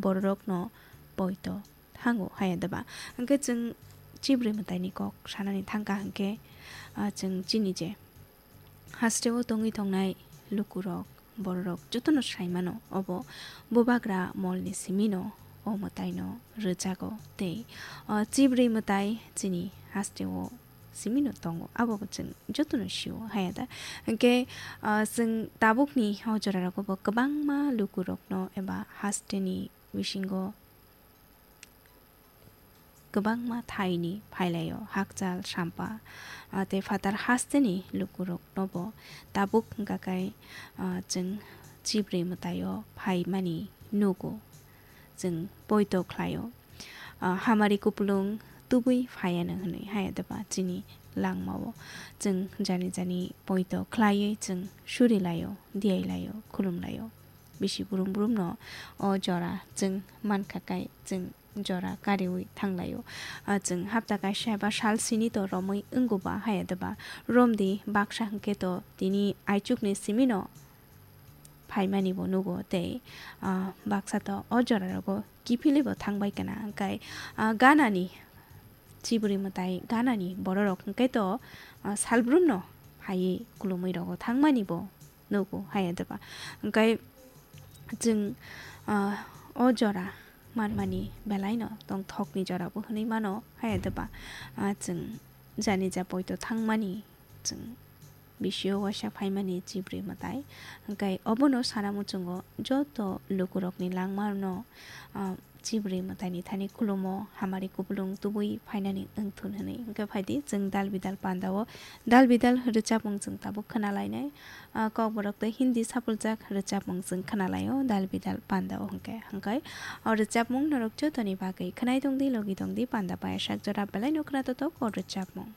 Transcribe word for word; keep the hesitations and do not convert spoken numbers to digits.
bororokno poito thango haya deba. Hwnkhe chwng chibri mwtaini kok sanani thangkha hwnkhe, ah, chwng chini je hasteo tongwi tongnai lukurok, bororok jotono sai mano, obo bubagra molni simino o mwtaino rwjago tei, ah, chibri mwtai chini hasteo simino tongo, abobo chwng jotono sio haya da. Hwnkhe, ah, chwng tabukni o jorarogo bo kwbangma lukurokno eba hasteni bisingo kwbangma thaini phailaio, hakchal, sampa, ah, tei phatar hasteni lukuroknobo tabuk hwnkha khe, ah, chwng chibri mwtaio phaimani nugo, chwng poito khlaio. Ah, hamari kupulung tubui phaiano hwnwi haya deba chini langmao chwng jani jani poito khlaiwi chwng surilaio, diyailaio, khulumlaio. Bisi brum brumno o jora chwng mankha kai chwng jora kariwi thanglaio. Ah, chwng hapta kaisa eba sal sini to romwi wngo ba haya deba. Romdi baksa hwnkhe to tini aichukni simino phaimani bo nugo tei, ah, baksa to o jora rogo kiphilwi bo thangbai kana. Hwnkhe, ah, ganani chibri mwtai ganani bororok hwnkhe to, ah, salbrumno phaiwi khulumwi rogo thangmani bo nugo haya deba. Hwnkhe chwng, ah, o jora manmani belaino tongthokni jorabo hwnwi mano haya deba. Ah, chwng jani ja poito thangmani chwng bisio waisa phaimani chibri mwtai. Hwnkhe obono sana muchungo joto lukurokni langmano, ah, chibri mwtaini thani khulumo hamari kupulung tubui phainani wngthun hwnwi. Hwnkhe phaidi chwng dal bidal pandao, dal bidal rwchapmung chwng tabuk khwnalainai. Ah, kokborok tei Hindi sapuljak rwchapmung chwng khwnalaio dal bidal pandao hwnkhe. Hwnkhe o rwchapmung norok jotoni bagwi khwnai tongdi, logi tongdi, panda payasak jora belaino khwnatotok o rwchapmung.